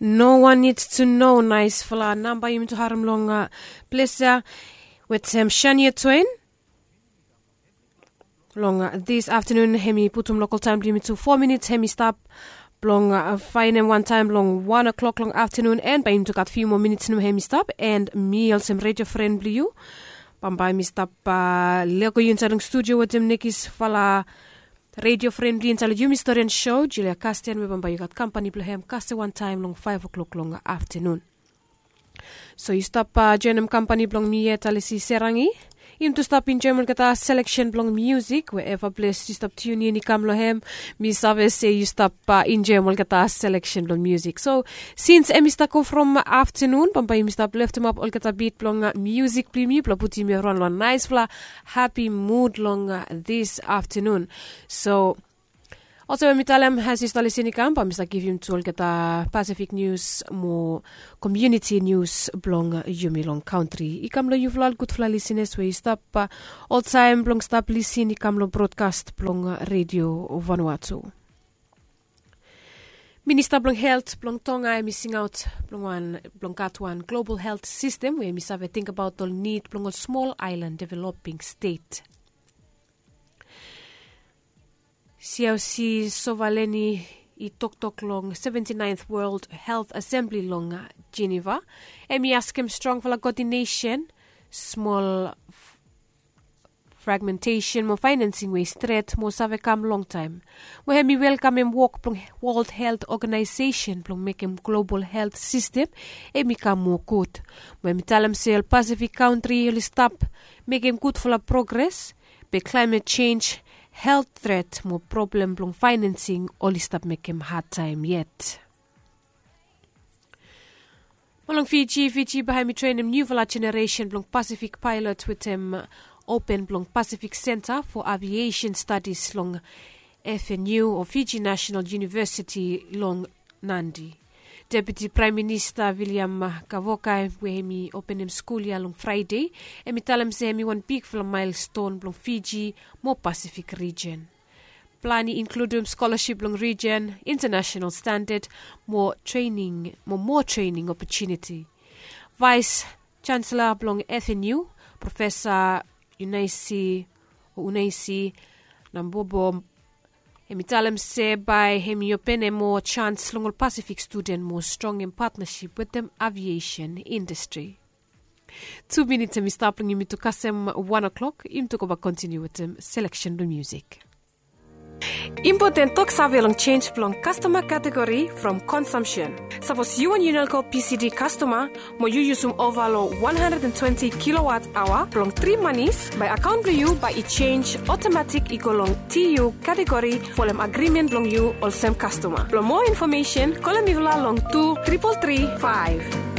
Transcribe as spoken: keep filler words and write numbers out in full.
No wan nid tu no naisfala namba yumi tu harim long ples ya wetem Shania Twain. Long dis aftanun hem i putum lokal taem blong yumi tu fo minit hem i stap blong faenem wantaem long wan o'klok long aftanun, en bae yumi tu gat fiu moa minit nomo hem i stap. En mi olsem redio fren blong yu bambae mi stap lego yu insaed long studio wetem nekisfala redio fren blong yu insaed long yumi storian sou Julia Kasten, we bambae yu gat kampani blong hem kasem wantaem long faef o'klok long aftanun. So yu stap joenem kampani blong mi yet, Alisi Serangi. Yumi tu stap enjoem olgeta seleksen blong miusik we eva ples yu stap tiun in i kam long hem. Mi save se yu stap enjoem olgeta seleksen blong miusik. So sins hem i stap go from aftanun, bambae yumi stap leftemap olgeta bit blong miusik blong yumi blong putum yumi raon long naisfala hapi mud long dis aftanun. So olsem we mi talem, as yu stap lisin i kam, bae mi stap givim tu olgeta Pasifik nius mo komuniti nius blong yumi long kantri i kam long yufala ol gudfala lisinas we yu stap oltaem blong stap lisin i kam long brodkas blong redio Vanuatu. Minista blong helt blong Tonga hem i singaot blong wan blong gat wan global helt sistem we hem i save tingbaot ol nid blong ol smol aelan developing stet. Siaosi Sovaleni i toktok long seventi naenth World Health Assembly long Geneva. Hem i askem strongfala koodinesen, smol fragmentesen mo faenansing we i stret mo save kam longtaem. Mo hem i welkamem wok blong World Health Organization blong mekem global helt sistem hem i kam moa gud. Mo hem i talem se ol Pasifik kantri oli stap mekem gudfala progres, be klaemet jenj, helt tret mo problem blong faenansing oli stap mekem hadtaem yet. Mo long Fiji, Fiji bae hem i trenem niufala jeneresen blong Pasifik paelot wetem open blong Pasifik Senta fo Aviesen Stadis long F N U o Fiji Nasenal Univesiti long Nadi. Deputi Praem Minista Viliam Gavoka we hem i openem skul ya long Fraede, hem i talem se hem i wan bigfala maelston blong Fiji mo Pasifik rijen. Plan i inkludum skolasip long rijen, intanasenal standad mo trening mo moa trening opotuniti. Vaes Jansela blong F N U, Profesa Unaisi o Unaisi Nambobo, hem i talem se bae hem i openem moa jans long ol Pasifik studen mo strongem patnasip wetem aviesen indastri. Tu minit hem i stap long yumi tu kasem wan o'klok, yumi tu go bak kontiniu wetem seleksen blong miusik. Impoten toksave long jenj blong kastoma kategori from konsamsen. Sapos yu wan Unelco P C D kastoma mo yu yusum ova long wan handred and twenti kilowat aoa blong tri manis, bae akaon blong yu bae i jenj otomatik i go long T U kategori folem agrimen blong yu olsem kastoma. Blong moa infomesen kolem mifala long tu tripol tri faef.